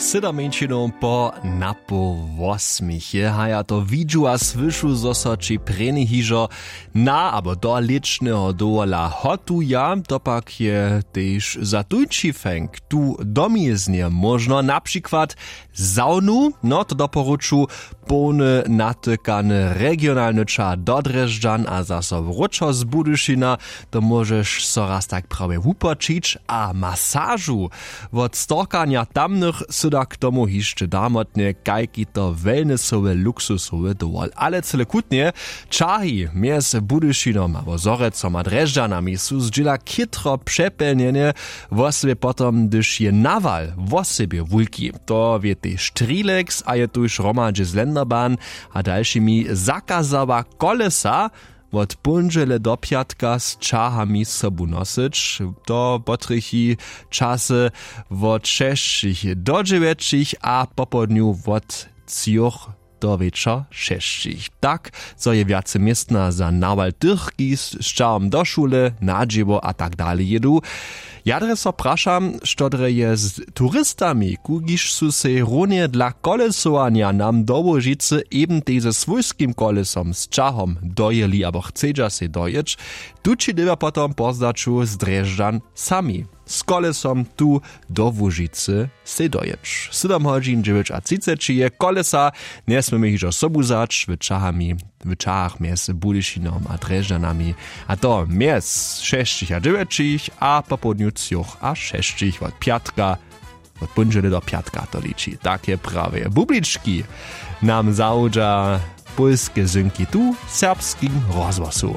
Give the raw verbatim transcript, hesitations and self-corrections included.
Sydom mjeńšinow po napoł wosmich je haja to widźu a słyšu zo so ći prěni hižo na abo do lěčneho dowola hotuja. To pak je tež za tuńči fenk tu domjeznje móžno na přikład zawnu no to doporuču połny natykany regionalny čar do drježdźan a zaso wróćo z budyšina. To móžeš so raz tak prawje wupočić a masažu wot storkanja tamnych sy da k tomu hišće damotnje kajki to wellnessowy luksusowy dowol ale cyle kutnje. Čahi mjez budyšinom abo zhorjecom a drježdźanami su zdźěla chětro přepjelnjene, wosebje potom hdyž je nawal wosebje wulki. To wě tež trileks a je tuž hromadźe z lenderbahn a dalšimi zakazała kolesa wot póndźele do pjatka z ćahami sobu nosyć. To potrjechi časy wot šesćich do dźewjećich a popołdnju wot třoch do wječor šesćich tak zo je wjace městna za nawal tych kiž z ćahom do šule na dźěło a tak dale jědu. Ja drje so prašam što drje je z turistami kukiž su sej runje dla kolesowanja nam do łužicy eben tej ze swójskim kolesom z ćahom dojěli abo chcedźa sej dojěć. Tući dyrbja potom po zdaću z drježdźan sami z kolesom tu do łužicy sej dojěć. Sydom hodźin dźewjećatřiceći je kolesa njesměmy hižo sobu wzać w ćahach mjez budyšinom a drježdźanami a to mjez šesćich a dźewjećich a popołdnju třoch a šesćich wot pjatka wot póndźele do pjatka to liči tak je prawje bublički nam zawudźa pólske zynki tu w serbskim rozhłosu.